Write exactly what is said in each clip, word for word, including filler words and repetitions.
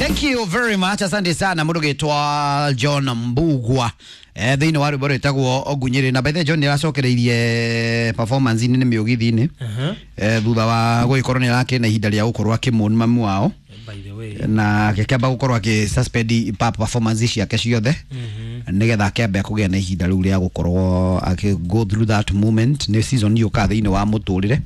Thank you very much. Asante sana mũndũ gĩtwa John Mbugua eh, thĩinĩ wa rwĩmbo rwĩtagwo Ngunyĩrĩ. Na by the way, John nĩ aracokereirie performance nĩ mĩũgithi-inĩ Uh-huh. eh, thutha wa gũgĩkorwo nĩ arakĩrĩ na ihinda rĩa gũkorwo akĩmũn mamu wao By the way. Na akĩamba gũkorwo akĩ suspend pa performance ciake ciothe Mhm. nĩgetha akĩambe kũgĩa na ihinda rĩu rĩa gũkorwo akĩ go through that moment. Nĩ season yũkaga thĩinĩ wa mũtũrĩre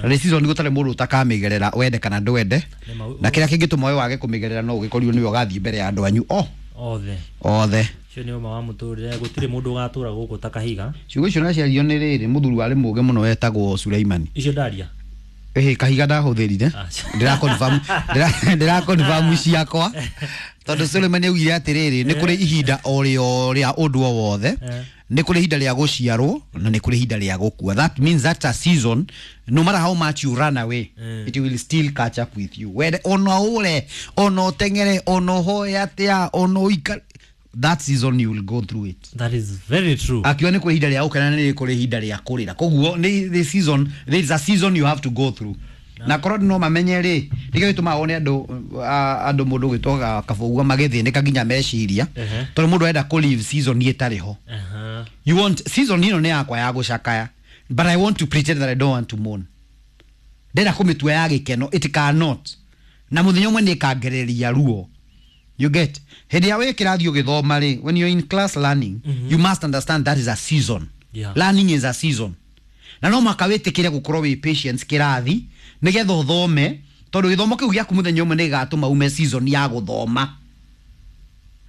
na nĩ season gũtarĩ mũndũ ũtakamĩgerera, wende kana ndwende. Nĩ ma- Na kĩrĩa kĩngĩtũma we wage kũmĩgerera no ũgĩkorirwo nĩwe ũgathiĩ mbere ya andũ anyu o Othe. Othe. Ũcio nĩ ũma wa mũtũrĩre, gũtirĩ mũndũ ũgatũra gũkũ ta kahiga. Ciugo icio naciario nĩ rĩrĩ mũthuri warĩ mũũgĩ mũno wetagwo Suleimani. Icio ndaria. Ĩhĩ, kahiga ndahũthĩrire. Ah. Ndĩra confirm ndĩra ndĩra confirm ciakwa tondũ Suleimani augire atĩrĩrĩ, nĩ kũrĩ ihinda o rĩo rĩa ũndũ o wothe. Eh. Nĩ kũrĩ ihinda rĩa gũciarwo na nĩ kũrĩ ihinda rĩa gũkua. That means that a season, no matter how much you run away, Mm. it will still catch up with you. Wende ona ũre, ona ũteng'ere, ona ũhoe atĩa, ona ũikare, that season you will go through it. That is very true. Akiuga nĩ kũrĩ ihinda rĩa gũkena na nĩ kũrĩ ihinda rĩa kũrĩra. Koguo nĩ the season, there is a season you have to go through. Na korwo no mamenye rĩ, nĩkĩo gĩtũmaga wone andũ a- andũ mũndũ gwĩtwo kabũgua magĩthĩnĩka nginya meciria, Ehe. tondũ mũndũ arenda kũ live season ĩtarĩ ho. Aha. You want season ĩno nĩ yakwa ya gũcakaya, but I want to pretend that I don't want to mourn. Ndĩrenda kũmĩtua ya gĩkeno. It cannot, na mũthenya ũmwe nĩ ĩkangereria ruo. You get, hĩndĩ ĩrĩa wĩ kĩrathi ũgĩthoma rĩ, when you're in class learning, mm -hmm. you must understand that is a season. Yeah. Learning is a season na no mũhaka wĩtĩkĩre gũkorwo wĩ patience kĩrathi nĩgetha ũthome, tondũ gĩthomo kĩu gĩaku mũthenya ũmwe nĩ gĩgatũma ume season ya gũthoma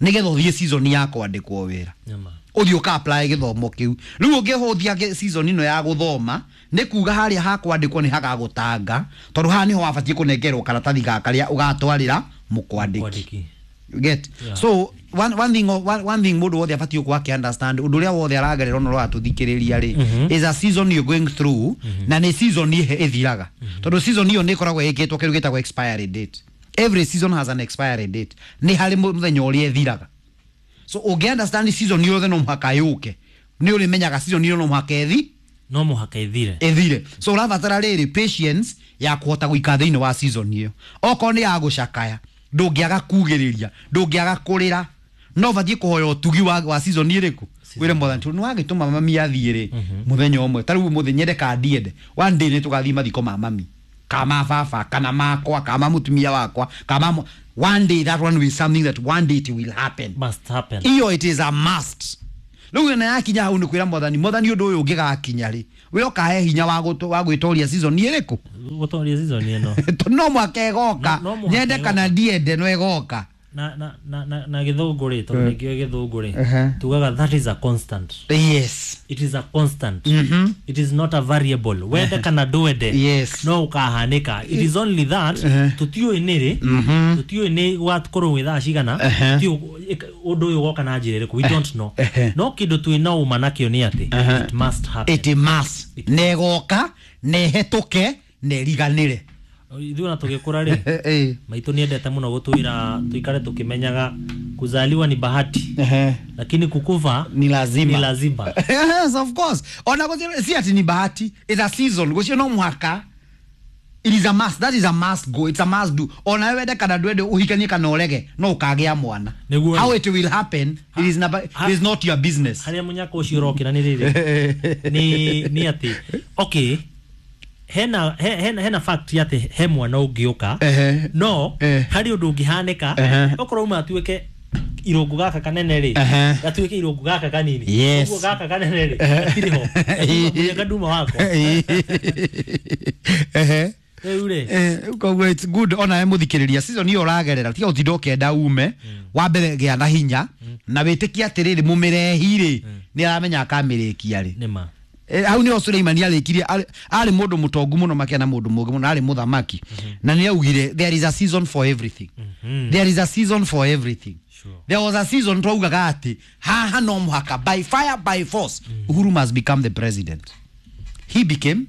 nĩgetha ũthiĩ season ya kwandĩkwo wĩra. Nyama. Ũthiĩ ũka apply gĩthomo kĩu. Rĩu ũngĩhũthia gĩ- season ĩno ya gũthoma, nĩ kuga harĩa hakwandĩkwo nĩ hagagũtanga, tondũ haha nĩho wabatiĩ kũnengerwo karatathi gaka karĩa ũgatwarĩra mũkwandĩki. Kwandĩki. You get? Yeah. So one, one thing one, one thing mũndũ wothe abatiĩ gũkorwo akĩ understand, ũndũ ũrĩa wothe aragerera ona ũratũthikĩrĩria rĩ, Mhm. is a season you're going through, na nĩ season ĩhe ĩthiraga, tondũ season ĩyo nĩ ĩkoragwo ĩkĩtwo kĩndũ gĩtagwo expiry date. Every season has an expiry date. Nĩ harĩ mũthenya ũrĩa ĩthiraga. So ũngĩ understand season yothe no mũhaka yũke, nĩ ũrĩmenyaga season ĩyo no mũhaka ĩthi No mũhaka ĩthire. Ĩthire. So ũrabatara rĩrĩ patience ya kũhota gũikara thĩinĩ wa season ĩyo. Okorwo nĩ ya gũcakaya, ndũngĩaga kugĩrĩria, ndũngĩaga kũrĩra, no ũbatiĩ kũhoya ũtugi wa, wa season ĩrĩkũ, wĩre Mwathani, tondũ nĩwagĩtũma mami athiĩ rĩ, mũthenya ũmwe ta rĩu mũthĩ, nyende kana ndiende, one day nĩ tũgathiĩ mathiko ma mami kana ma baba kana makwa kana ma mũtumia wakwa kana ma one day. That one will something that one day it will happen. Must happen. Iyo it is a must. Rĩu ĩna yakinya hau nĩ kwĩra Mwathani, Mwathani, ũndũ ũyũ ũngĩgakinya rĩ, we ũkahe hinya wa gũtũ- wa gwĩtoria season ĩrĩkũ. Gũtoria season ĩno. Tondũ no mwaka ĩgoka. No- no mũhaka Nyende ĩgoka. kana ndiende, no ĩgoka. Na na na na, na gĩthũngũ rĩ, tondũ nĩkĩo gĩthũngũ rĩ, Ehe. tugaga that is a constant. Yes it is a constant. Mhm. It is not a variable. Wende kana ndwende, Yes. no ũkahanĩka. It is only that Ehe. tũtiũĩ nĩ rĩ, Mhm. tũtiũĩ nĩ gwakorwo gwĩ thaa cigana. Ehe. Tũtiũĩ ũndũ ũyũ ũgoka na njĩra ĩrĩkũ, we don't know. Ehe. No kĩndũ twĩ na ũma nakĩo nĩ atĩ Ehe. it must happen. It must, na ĩgoka na ĩhetũke na ĩriganĩre. Ithuĩ ona tũgĩkũra rĩ, Eh, maitũ nĩendete mũno gũtwĩra tũikare tũkĩmenyaga kuzaliwa ni bahati, eh. lakini kukufa ni lazima. Ni lazima. Yes, of course. Ona gũtirĩ si ati ni bahati, it's a season gũcio no mũhaka. It is a must. That is a must go. It's a must do. Ona wewe wende kana ndwende, uhikanie kana ũrege, no ũkagĩa mwana. Nĩguo. How it will happen, it is, not, it is not your business. Harĩa mũnyaka ũcio ũrokĩra nĩ rĩrĩ, nĩ nĩ atĩ okay, hena he- hena hena fact atĩ he mwana ũngĩũka, Ehe. no Eh. harĩ ũndũ ũngĩhanĩka, Ehe. okorwo uma atuĩke irũngũ gaka kanene rĩ, Ehe. gatuĩke irũngũ gaka kanini. Yes. Ũguo gaka kanene rĩ, gatirĩ ho. Gatuma mũnyaka nduma wakwa. Ehe. Rĩu rĩ, Eh, koguo it's good ona we mũthikĩrĩria, season ĩyo ũragerera, tiga ũtinda ũkĩenda ume. Wa mbere gĩa na hinya na wĩtĩkie atĩrĩrĩ, mũmĩrehi rĩ, nĩ aramenya akamĩrĩkia rĩ. Nĩma. Eh, hau nĩho Suleimani arĩkirie. arĩ arĩ mũndũ mũtongu mũno makĩria na mũndũ mũũgĩ mũno, arĩ mũthamaki, na nĩ augire there is a season for everything. Mhm. There is a season for everything. Sure. There was a season twaugaga atĩ haha no mũhaka by fire by force Uhuru must become the president. He became,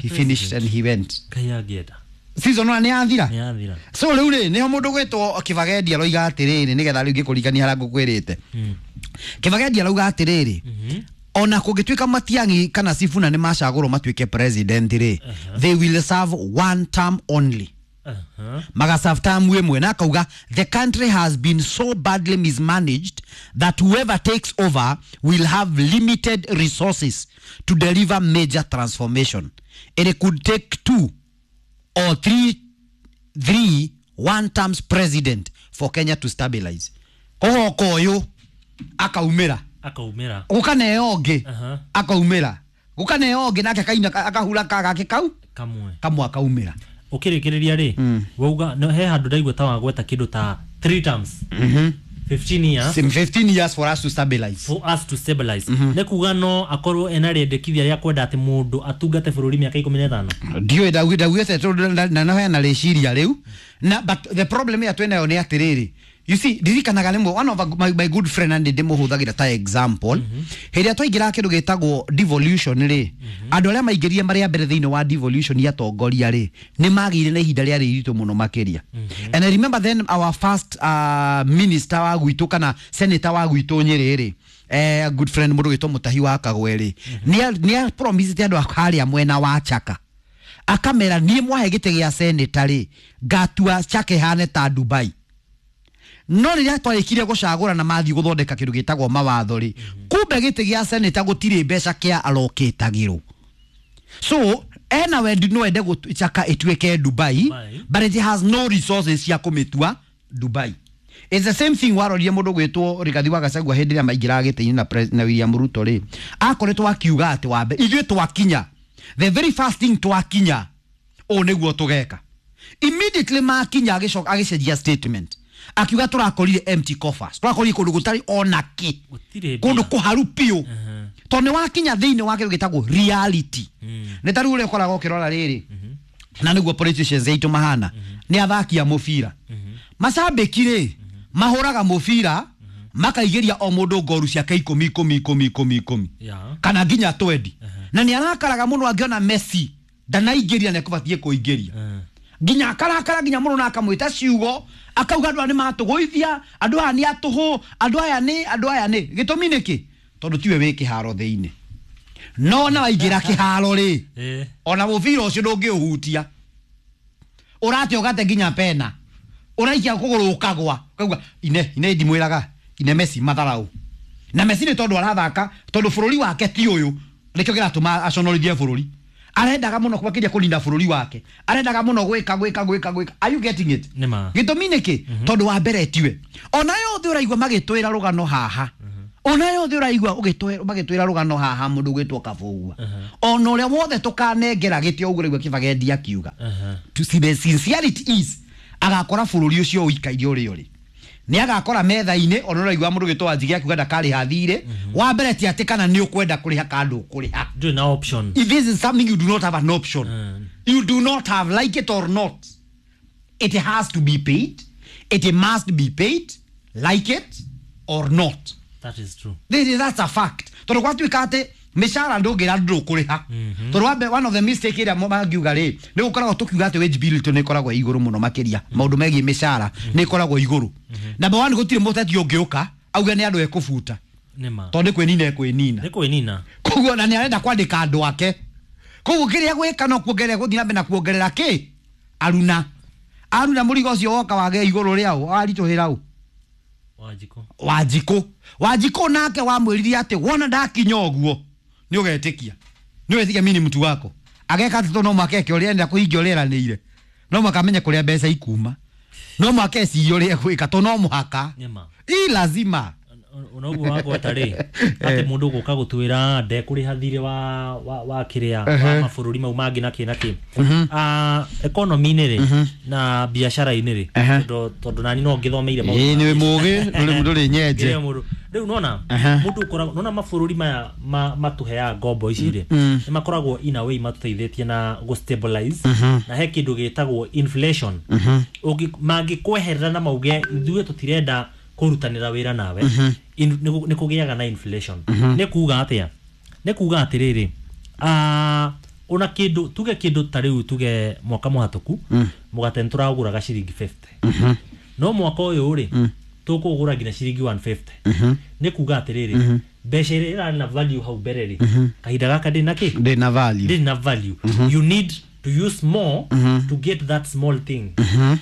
he finished and he went. Ngai angĩenda. Season ona nĩ yathira. Nĩ yathira. So rĩu rĩ, nĩho mũndũ gwĩtwo Kĩbagendi aroiga atĩrĩrĩ, nĩgetha rĩu ngĩkũririkania harĩa ngũkwĩrĩte, Mm. Kĩbagendi arauga atĩrĩrĩ, Mhm. ona kũngĩtuĩka Matiang'i kana Sifuna nĩ macagũrwo matuĩke president rĩ, they will serve one term only. Aha. Magaserve term ĩmwe na akauga the country has been so badly mismanaged that whoever takes over will have limited resources to deliver major transformation. It could take two or three three one terms president for Kenya to stabilize. Kogoka ũyũ akaumĩra, Akaumĩra. gũkaneo ũngĩ, Aha. akaumĩra, gũkaneo ũngĩ nake akaina akahura kagake kau Kamwe. Kamwe akaumĩra. Ũkĩrĩkĩrĩria rĩ, wauga no, he handũ ndaigua ta wagweta kĩndũ ta three terms, fifteen years. Same fifteen years for us to stabilize. For us to stabilize. Nĩ kuga no akorwo ena rĩendekithia rĩa kwenda atĩ mũndũ atungate bũrũri mĩaka ikũmi na ĩtano. Ndiũĩ ndaugĩte tondũ na no hena rĩciria rĩu na, but the problem ĩrĩa twĩnayo nĩ atĩrĩrĩ, you see, ndirikanaga rĩmwe one of my, my good friend, and ndĩmũhũthagĩra ta example, hĩndĩ ĩrĩa twaingĩraga kĩndũ gĩtagwo devolution rĩ, andũ arĩa maingĩrire marĩa mbere thĩinĩ wa devolution ya atongoria rĩ, nĩ magĩire na ihinda rĩarĩ iritũ mũno makĩria. And I remember then our first uh, minister wa gwitũ kana senator wa gwitũ Nyĩrĩ rĩ, eh, good friend mũndũ gwĩtwo Mũtahi wa Kagwe rĩ, nĩ promised andũ a harĩa mwena wa Chaka, akamera niĩ mwahe gĩtĩ gĩa senator rĩ, ngatua Chaka ĩhane ta Dubai. No rĩrĩa twarĩkirie gũcagũra na mathiĩ gũthondeka kĩndũ gĩtagwo mawatho rĩ, kumbe gĩtĩ gĩa senator gũtirĩ mbeca kĩa alokĩtagĩrwo. So ena wendi no ende gũtu- Chaka ĩtuĩke Dubai, Dubai. but it has no resources cia kũmĩtua Dubai. It's the same thing warorire mũndũ gwĩtwo Rigathi wa Gachagua hĩndĩ ĩrĩa maingĩraga gĩtĩ-inĩ na, pres- na William Ruto rĩ, akoretwo akiuga atĩ wambe ithuĩ twakinya, the very first thing twakinya, ũũ nĩguo tũgeka. Immediately makinya agĩcoka agĩcenjia statement, akiuga tũrakorire empty coffers, tũrakorire kũndũ gũtarĩ ona kĩ. Gũtirĩ Kũndũ mbia. kũharu biũ, tondũ nĩ wakinya thĩinĩ wa kĩndũ gĩtagwo reality. Nĩ ta rĩu ũrĩa ũkoragwo ũkĩrora rĩrĩ, na nĩguo politicians aitũ mahana, nĩ athaki a mũbira. Macambĩki rĩ, mahũraga mũbira makaigĩria o mũndũ ngoru ciake ikũmi ikũmi ikũmi ikũmi ikũmi Yeah. kana nginya twendi, na nĩ arakaraga mũno angĩona Messi ndanaingĩria na ekũbatiĩ kũingĩria, Eh. nginya akarakara nginya mũno na akamwĩta ciugo, akauga andũ aya nĩ matũgũithia, andũ aya nĩ atũhũ, andũ aya nĩ, andũ aya nĩ. Gĩtũmi nĩkĩ? Tondũ tiwe wĩ kĩharo thĩinĩ. No na waingĩra kĩharo rĩ, Eh. ona mũbira ũcio ndũngĩũhutia, ũrate ũgate nginya pena, ũraikia kũgũrũ ũkagwa, ũkauga ine ine ndimwĩraga ine Messi matharau. Na Messi nĩ tondũ arathaka tondũ bũrũri wake ti ũyũ, nĩkĩo kĩratũma aconorithie bũrũri. Arendaga mũno makĩria kũrinda bũrũri wake, arendaga mũno gwĩka gwĩka gwĩka gwĩka. Are you getting it? Nĩ ma. Gĩtũmi nĩkĩ? Tondũ wa mbere tiwe. Ona yothe ũraigua magĩtwĩra rũgano haha, ona yothe ũraigua ũgĩtwĩra magĩtwĩra rũgano haha, mũndũ ũgwĩtwo Kabũgua, ona ũrĩa wothe tũkanengera gĩtĩ ũguo ũraigua Kĩbagendi akiuga, Aha. to see, the sincerity is agakora bũrũri ũcio ũikaire ũrĩa ũrĩ, nĩ agakora metha-inĩ. Ona ũraigua mũndũ ũgwĩtwo Wanjigi akiuga ndakarĩha thirĩ wa mbere, ti atĩ kana nĩ ũkwenda kũrĩha kana ndũkũrĩha. Ndũrĩ na option. If this is something you do not have an option, Mm. you do not have, like it or not, it has to be paid, it must be paid, like it or not. That is true. This is, that's a fact, tondũ gwatuĩka atĩ mĩcara ndũngĩra ndũkũrĩha, tondũ wambe one of the mistake ĩrĩa mangiuga rĩ, nĩ gũkoragwo tũkiuga atĩ wage bill itũ nĩ ĩkoragwo ĩ igũrũ mũno makĩria, maũndũ megiĩ mĩcara nĩ ĩkoragwo igũrũ. Number one, gũtirĩ mũteti ũngĩũka auge nĩ andũ ekũbuta, Nĩ ma. tondũ nĩ kwĩnina ekwĩnina. Nĩ kwĩnina. Koguo na nĩ arenda kwandĩka andũ ake, koguo kĩrĩa gwĩka no kuongerera, gũthiĩ na mbere na kuongerera kĩ aruna aruna mũrigo ũcio woka wage igũrũ rĩao waritũhĩra ũ? Wanjikũ. Wanjikũ. Wanjikũ nake wamwĩrire atĩ wona ndakinya ũguo nĩ ũgetĩkia, nĩ ũgetĩkia mimi ni mtu wako. Ageka atĩ tondũ no mũhaka eke ũrĩa enda kũhingia ũrĩa eranĩire, no mũhaka amenye kũrĩa mbeca ikuma, no mũhaka ecirie ũrĩa egwĩka, tondũ no mũhaka. Nĩ ma. Ii lazima. Ona ũguo wagweta rĩ, atĩ mũndũ gũka gũtwĩra ndekũrĩha thirĩ wa wa wa kĩrĩa wa mabũrũri mau mangĩ na kĩ na kĩ. Ah, economy-inĩ rĩ na biacara-inĩ rĩ, Ehe. tondũ tondũ nani no ngĩthomeire maũndũ Ĩĩ ma nĩ mũgĩ ndũrĩ ndũrĩ nyenje. Ngĩrĩa mũndũ rĩu nona Aha. mũndũ ũkoragwo nona mabũrũri maya ma- matũheaga ngombo ici rĩ, nĩ makoragwo in a way matũteithĩtie na gũ stabilize, na he kĩndũ gĩtagwo inflation. Ũngĩ- mangĩkweherera na mauge ithuĩ tũtirenda kũrutanĩra wĩra nawe, in- nĩ kũ- nĩ kũgĩaga na inflation. Nĩ kuga atĩa? Nĩ kuga atĩrĩrĩ, ah, ona kĩndũ tuge kĩndũ ta rĩu tuge mwaka mũhatũku mũgate nĩ tũragũraga ciringi mĩrongo ĩtano, no mwaka ũyũ rĩ tũkũgũra nginya ciringi igana rĩa mĩrongo ĩtano. Nĩ kuga atĩrĩrĩ, mbeca ĩrĩa ĩrarĩ na value hau mbere rĩ, kahinda gaka ndĩ na kĩ? Ndĩ na value. Ndĩrĩ na value. You need to use more to get that small thing.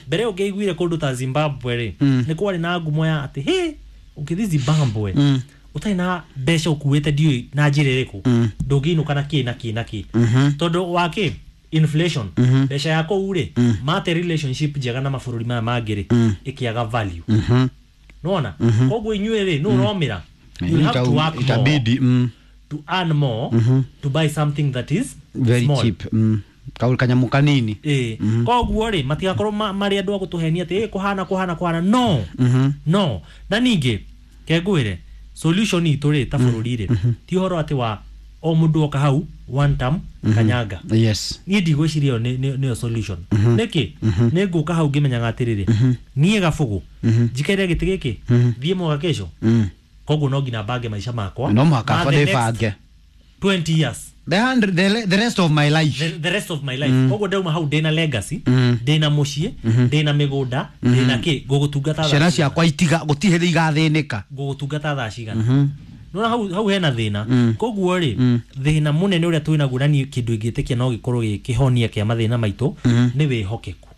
Mbere ũngĩaiguire kũndũ ta Zimbabwe rĩ, nĩ kwarĩ na ngumo ya atĩ hĩ, ũngĩthiĩ Zimbabwe ũtarĩ na mbeca ũkuĩte ndiũĩ na njĩra ĩrĩkũ, ndũngĩinũka na kĩ na kĩ na kĩ, tondũ wa kĩ? Inflation. Mbeca ya kũu rĩ, mate relationship njega na mabũrũri maya mangĩ rĩ, ĩkĩaga value. Nona koguo inyuĩ rĩ, nũ ũromĩra, you have to work more itabidi mm. to earn more to buy something that is very small. Cheap. Mm. Kaul kanyamu kanini. Ĩĩ, koguo rĩ, matigakorwo ma- marĩ andũ a gũtũhenia atĩ "Ĩ, kũhana kũhana kũhana." No, no. Na ningĩ kengwĩre solution itũ rĩ, ta bũrũri rĩ, ti ũhoro atĩ wa o mũndũ oka hau one term kanyanga. Yes. Niĩ ndigwĩciria ĩyo nĩ- nĩ- nĩyo solution. Nĩkĩ? Nĩ ngũka hau ngĩmenyaga atĩrĩrĩ, niĩ Gabũgũ njikaire gĩtĩ gĩkĩ thiĩ mwaka kesho, koguo no nginya mbange maica makwa no mũhaka ma the next ndĩbange twenty years, the, hundred, the, the rest of my life. the, the rest of my life. Koguo ndauma hau ndĩna legacy, ndĩna mũciĩ, ndĩna mĩgũnda, ndĩna kĩ, ngũgũtungata thaa ciana cigana? Ciakwa itiga gũtirĩ hĩndĩ igathĩnĩka. Ngũgũtungata thaa cigana? Nona hau, hau hena thĩna. Koguo rĩ, thĩna mũnene ũrĩa twĩ naguo, na niĩ kĩndũ ingĩtĩkia no gĩkorwo gĩ kĩhonia kĩa mathĩna maitũ, nĩ wĩhokeku.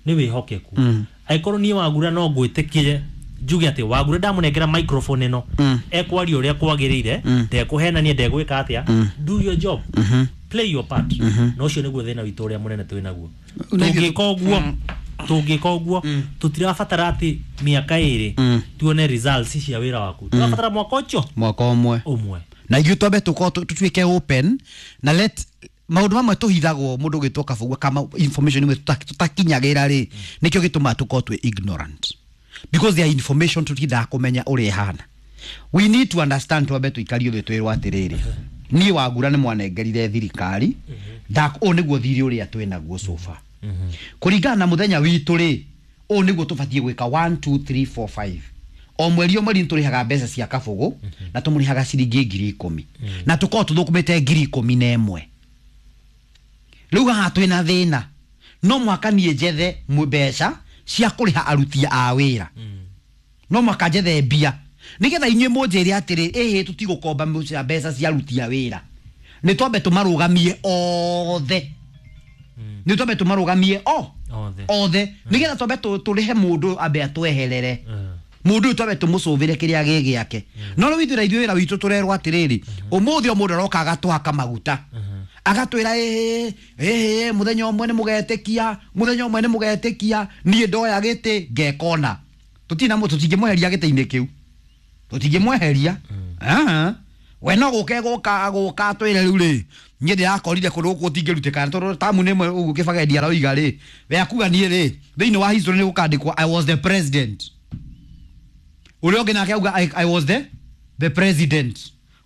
Nĩ wĩhokeku. Angĩkorwo niĩ Wagura no ngwĩtĩkire, njuge atĩ Wagura ndamũnengera microphone ĩno, ekwaria ũrĩa kwagĩrĩire, ndekũhenania, ndegwĩka atĩa, do your job, play your part. Na ũcio nĩguo thĩna witũ ũrĩa mũnene twĩ naguo. Tũngĩka ũguo, tũngĩka ũguo, tũtirabatara atĩ mĩaka ĩrĩ tuone results cia wĩra waku. Tũrabatara mwaka ũcio mwaka ũmwe ũmwe. Na ithuĩ twambe tũkorwo tũ- tũtuĩke open na let maũndũ mamwe tũhithagwo mũndũ ũgĩtwo Kabũgua kama information imwe tũta- tũtakinyagĩra rĩ, nĩkĩo gĩtũmaga tũkorwo twĩ ignorant, because there are information tũtindaga kũmenya ũrĩa ĩhana. We need to understand. Twambe tũikario thĩ twĩrwo atĩrĩrĩ, niĩ Wagura nĩ mwanengerire thirikari, ndak ũũ nĩguo thirĩ ũrĩa twĩ naguo so far, kũringana na mũthenya witũ rĩ, ũũ nĩguo tũbatiĩ gwĩka one two three four five. O mweri o mweri nĩtũrĩhaga mbeca cia Kabũgũ na tũmũrĩhaga ciringi ngiri ikũmi na tũkorwo tũthũkũmĩte ngiri ikũmi na ĩmwe. Rĩu haha twĩna thĩna, no mũhaka niĩ njethe mũ- mbeca cia kũrĩha aruti a wĩra, no mũhaka njethe mbia nĩgetha inyuĩ mũnjĩre atĩrĩ, ĩhĩ, tũtigũkomba mbeca mbeca cia aruti a wĩra, nĩ twambe tũmarũgamie othe, nĩ twambe tũmarũgamie o othe, othe, nĩgetha twambe tũ- tũrĩhe mũndũ ambe atweherere. Mm. Mũndũ ũyũ twambe tũmũcũvĩre kĩrĩa gĩ gĩake. No rĩu ithuĩ na ithuĩ wĩra witũ tũrerwo atĩrĩrĩ, ũmũthĩ o mũndũ aroka agatũhaka maguta, agatwĩra ĩhĩ ĩhĩ, mũthenya ũmwe nĩ mũgetĩkia, mũthenya ũmwe nĩ mũgetĩkia. Niĩ ndoya gĩtĩ ngekona tũtina, tũtingĩmweheria gĩtĩ-inĩ kĩu, tũtingĩmweheria. Ah, we no gũke gũka gũka atwĩre rĩu rĩ, niĩ ndĩrakorire kũndũ gũkũ gũtingĩrutĩka tondũ tamu nĩ ĩmwe ũguo Kĩbagendi aroiga rĩ, we akuga niĩ rĩ, thĩinĩ wa history nĩ gũkandĩkwo "I was the president". Ũrĩa ũngĩ nake auga I, I was the the president".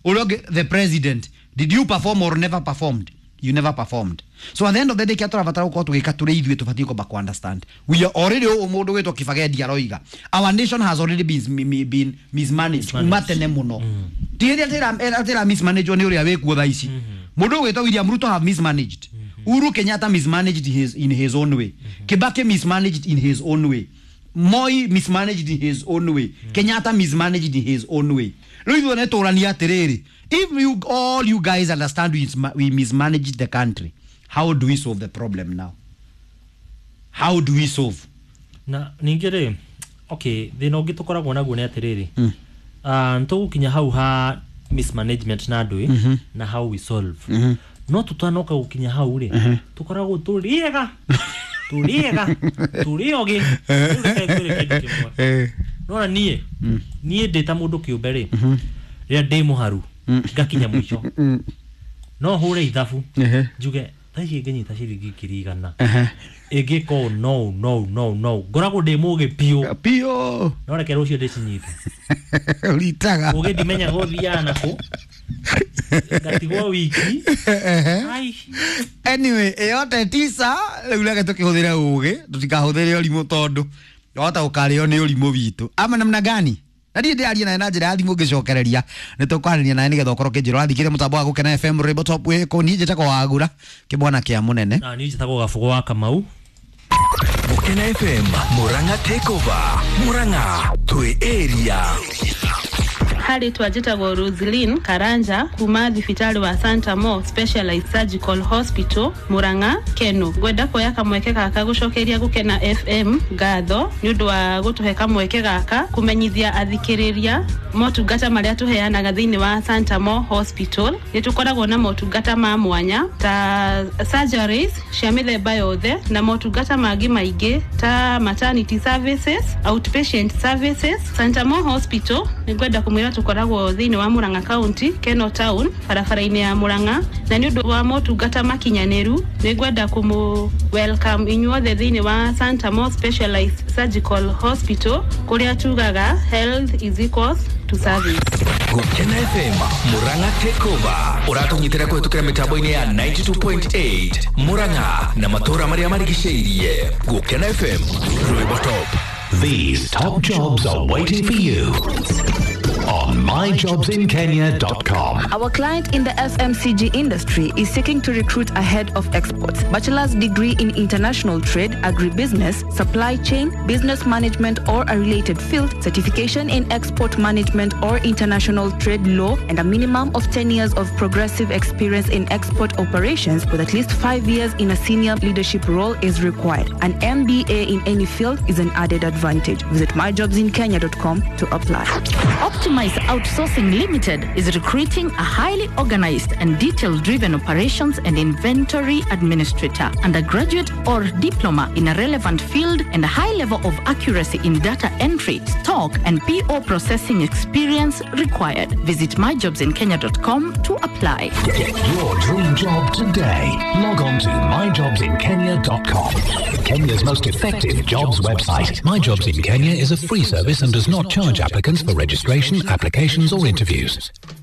Ũrĩa ũngĩ, the president. Did you perform or never performed? You never performed. So at the end of the day, kĩa tũrabatara gũkorwo tũgĩka tũrĩ ithuĩ, tũbatiĩ kwamba ku understand we are already, ũũ mũndũ gwĩtwo Kĩbagendi aroiga, our nation has already been, been mismanaged kuma tene mũno. Ti hĩndĩ atĩra mismanaged nĩ ũrĩa wĩkuo thaa ici. Mũndũ ũgwĩtwo William Ruto have mismanaged, Uhuru Kenyatta mismanaged his, in his own way, Kibaki mismanaged in his own way, Moi mismanaged in his own way, Kenyatta mismanaged in his own way. Rĩu ithuĩ nĩ tũrania atĩrĩrĩ, if you all you guys understand we, we mismanaged the country, how do we solve the problem now? How do we solve? Na ningĩ rĩ, okay, thĩna ũngĩ tũkoragwo naguo nĩ atĩrĩrĩ, mm. uh, nĩtũgũkinya hau ha mismanagement na andũ mm na how we solve mm -hmm. No tũtanoka gũkinya hau rĩ, mm -hmm. tũkoragwo tũrĩega tũrĩega tũrĩ ogĩ. Rĩu reke ngwĩre kĩndũ kĩmwe. Nona niĩ niĩ ndĩ ta mũndũ kĩũmbe rĩ, rĩrĩa ndĩ mũharu ngakinya mũico, no hũre ithabu njuge thaa ici ngĩnyita ciringi ngiri igana ĩngĩka ũũ no no no no ngoragwo ndĩ mũgĩ biũ. Pio. No reke rũciũ ndĩcinyite. Ũritaga. Ũgĩ ndimenya gũthiaga nakũ, ngatigwo wiki. Ai. Anyway, yote tisa, rĩu reke tũkĩhũthĩre ũgĩ, tũtikahũthĩre ũrimũ tondũ wahota gũkarĩo nĩ ũrimũ witũ ama namna gani. Na niĩ ndĩraria nawe na njĩra ya thimũ, ngĩcokereria nĩ tũkwarĩria nawe nĩgetha ũkorwo ũkĩnjĩra ũrathikĩria mũtambo wa Gũkena F M Rainbow Top wĩkũ. Niĩ njĩtagwo Wagura kĩmwana kĩa mũnene. Na niĩ njĩtagwo Gabũgũ wa Kamau. Gukena F M Murang'a Takeover. Murang'a twi area. Harĩ twanjĩtagwo Roslyn Karanja kuma thibitarĩ wa Santa Mo Specialized Surgical Hospital Murang'a Keno. Ngwenda kuoya kamweke gaka gũcokeria Gũkena F M ngatho nĩ ũndũ wa gũtũhe kamweke gaka kũmenyithia athikĩrĩria motungata marĩa tũheanaga thĩinĩ wa Santa Mo Hospital. Nĩ tũkoragwo na motungata ma mwanya ta surgeries cia mĩthemba yothe na motungata mangĩ maingĩ ta maternity services, outpatient services. Santa Mo Hospital nĩ ngwenda kũmwĩra tũkoragwo thĩinĩ wa Murang'a County, Keno Town, barabara-inĩ ya Murang'a, na nĩ ũndũ wa motungata makinyanĩru nĩ ngwenda kũmũ welcome inyuothe thĩinĩ wa Santa Mo Specialized Surgical Hospital kũrĩa tugaga health is equals to service. Gukena F M Murang'a Takeover ũratũnyitĩra kũhetũkĩra mĩtambo-inĩ ya ninety-two point eight Murang'a na matũũra marĩa marigicĩirie. Gukena F M, rwĩmbo top. These top jobs are waiting for you on my jobs in kenya dot com. Our client in the F M C G industry is seeking to recruit a head of exports, bachelor's degree in international trade, agribusiness, supply chain, business management or a related field, certification in export management or international trade law, and a minimum of ten years of progressive experience in export operations with at least five years in a senior leadership role is required. An M B A in any field is an added advantage. Visit my jobs in kenya dot com to apply. Optimize Outsourcing Limited is recruiting a highly organized and detail-driven operations and inventory administrator, undergraduate or diploma in a relevant field, and a high level of accuracy in data entry, stock, and P O processing experience required. Visit my jobs in kenya dot com to apply. Get your dream job today. Log on to my jobs in kenya dot com. Kenya's most effective jobs website. My Jobs in Kenya is a free service and does not charge applicants for registration, applications, or interviews.